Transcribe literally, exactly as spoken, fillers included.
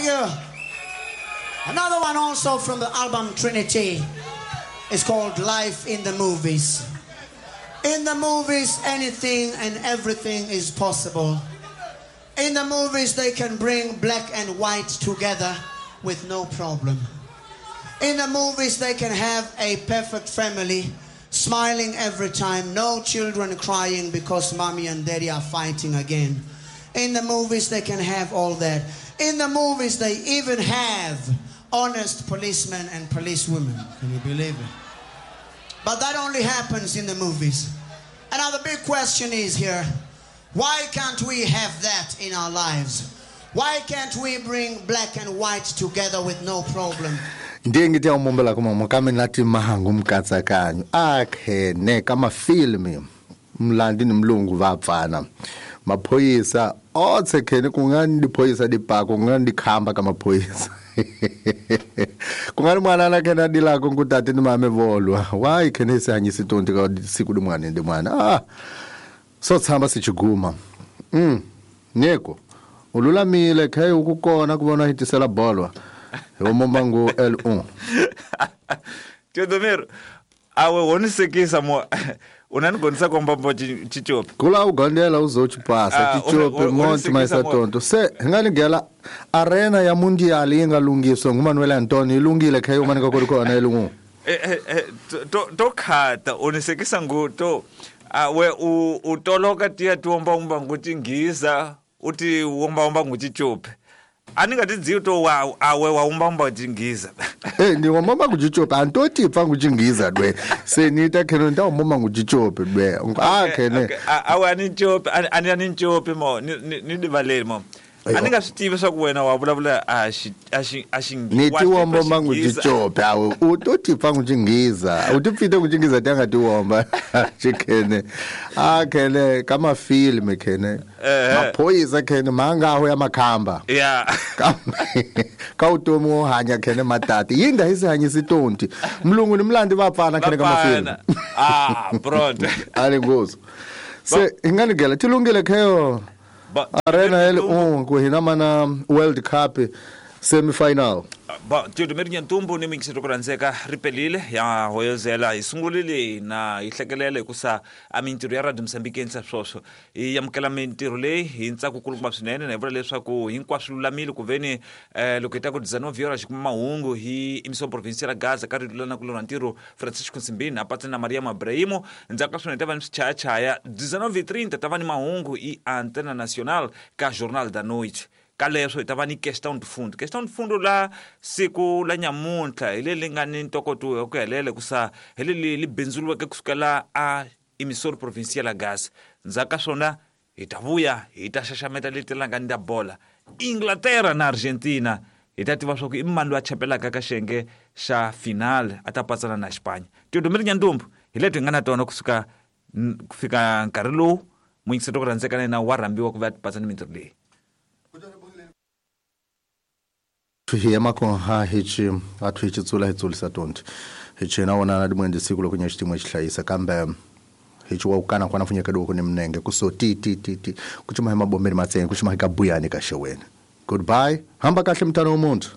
you. Another one also from the album Trinity. It's called Life in the Movies. In the movies, anything and everything is possible. In the movies, they can bring black and white together with no problem. In the movies, they can have a perfect family, smiling every time, no children crying because mommy and daddy are fighting again. In the movies, they can have all that. In the movies, they even have honest policemen and policewomen. Can you believe it? But that only happens in the movies. And now the big question is here, why can't we have that in our lives? Why can't we bring black and white together with no problem? Ndiye ngi tiya mumbela kuma mukame nati mahangu mkatsakanyo akhene kama filmi mlandi ni mlungu vapfana maphoyisa otse khene kungani diphoyisa dipako kungani dikhamba ka maphoyisa kungani mwana na khena dilako ngutati ni mame volwa why khene se hanyisi tonti ka siku dimwana ndi mwana ah so tsamba sichiguma mm neko ululamile khe ukukona kubona hitisela bolwa homombango L one Teodomiro awe wonisekisa mo unanigonisa kwambambo chichope kula ugondela uzochipasa chichope monti maisa tonto se nganigela arena ya mundial ingalungiswa nguManuel Antonio ilungile khe umanika kuri khona elungu eh eh to to khata unisekisa nguto awe utoloka tiya tiomba umba nguti ngiza uti womba umba nguchichope aninga to wa awe waumba chingiza eh ndi womba nguchichope antoti pfa nguchingiza dwe se nita kheno nda womba nguchichope dwe ah khene awe ani chope ani ani chope mo ni ni divaleri mo aninga swi swa ku wena wa vulavula a xi a xi a xi ni ti womba nguchichope awe utoti pfa nguchingiza utipfite nguchingiza tanga ti womba chikhene ah khene kama film khene maphoyisa khene mangaho ya makhamba yeah ka utomi wo hanya khene matati yinda hisi hanyisi tonti mlungu ni mlandi vapfana khene kama film ah pronto ali ngozo se inganigela tilungile kheyo Arena L one ku hina mana World Cup semi-final. Ba Teodomiro Nyantumbu ni mingisito kuranzeka ripelile ya hoyozela isungulile na ihlekelele kusa a mintirho ya Radio Mozambique yensa swoswo i amukela mintirho leyi hi ntsako kulukumba swinene na hi vula leswaku hinkwaswo lulamile ku veni eh, loko hi ta ku dezenove horas kuma mahungu hi emissão provincial Gaza ka rito na kulona ntirho Francisco Nsimbini apatsa na Maria Mabrahimo ndzhaku ka swona hi ta va ni swichayachaya dezenove e trinta ta va ni mahungu i Antena Nacional ka Jornal da Noite ka leswo hi ta va ni questão de fundo questão de fundo la siku la nyamuntlha hi leri nga ni ntokoto hi ku helela kusa hi leri li bindzuriweke kusukela a emissor provincial gas ndzhaku ka swona hi ta vuya hi ta xaxameta leti langa ni ta bola Inglaterra na Argentina hi ta tiva swa ku i mani loyi a chapelaka ka xiyenge xa final a ta patsana na Espanya Teodomiro Nyantumbu hi leti hi nga na tona kusuka ku fika nkarhi lowu muyingiseri ku rhandzeka na yena wa rhambiwa ku va patsa ni mintirho leyi hi makonha hichi athu hichi tsula hi tsulisa tonti hichi na wona na dimwende siku lokunya xitimwe xihlayisa kambe hichi wa ukana kwana funyeka doko ni mnenge kuso ti ti ti ti kuchuma hi mabombeni matseni kuchuma hi kabuyani ka xeweni goodbye hamba kahle mntana womuntu.